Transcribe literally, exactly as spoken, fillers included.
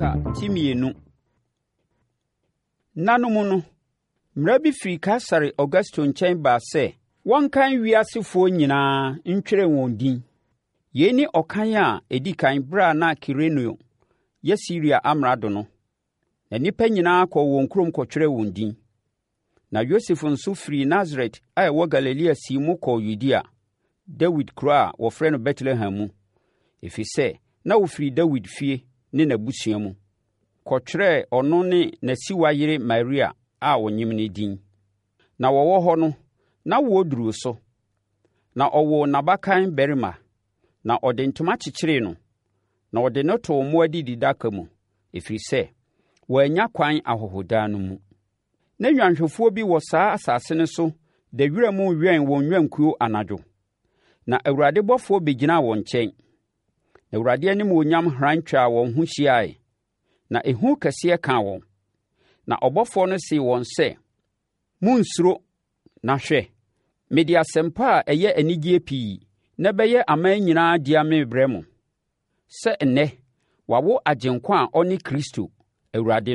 Luka ti mmienu. Nna no mu no, mmara bi firi Kaesare Augusto nkyɛn baa sɛ wɔnkan wiasefoɔ nyinaa ntwerɛ wɔn din. Yei ne ɔkan a ɛdi kan berɛ a na Kirenio yɛ Siria amrado no. Na nnipa nyinaa kɔɔ wɔn kurom kɔtwerɛɛ wɔn din. Na Yosef nso firii Nasaret a ɛwɔ Galilea sii mu kɔɔ Yudea, Dawid kuro a wɔfrɛ no Betlehem mu, ɛfiri sɛ na ɔfiri Dawid fie ne n'abusua mu, kɔtwerɛɛ ɔno ne n'asiwa yere Maria a ɔnyem no din. Na wɔwɔ hɔ no, n'awoɔ duruu so, na ɔwoo n'abakan barima, na ɔde ntoma kyekyeree no, na ɔde no too mmoa adididaka mu, ɛfiri sɛ, wɔannya kwan ahɔhodan no mu. Na nnwanhwɛfoɔ bi wɔ saa asase no so da wiram rewɛn wɔn nnwankuo anadwo. Na Awurade bɔfoɔ bɛgyinaa wɔn nkyɛn, na Awurade animuonyam hran twaa wɔn ho hyiae, na ehu kɛseɛ kaa wɔn. Na ɔbɔfoɔ no see wɔn sɛ, Monnsuro, na hwɛ, mede asɛmpa a ɛyɛ anigyeɛ pii na ɛbɛyɛ aman nyinaa dea merebrɛ mo, sɛ nnɛ, wɔawo Agyenkwa a ɔne Kristo, Awurade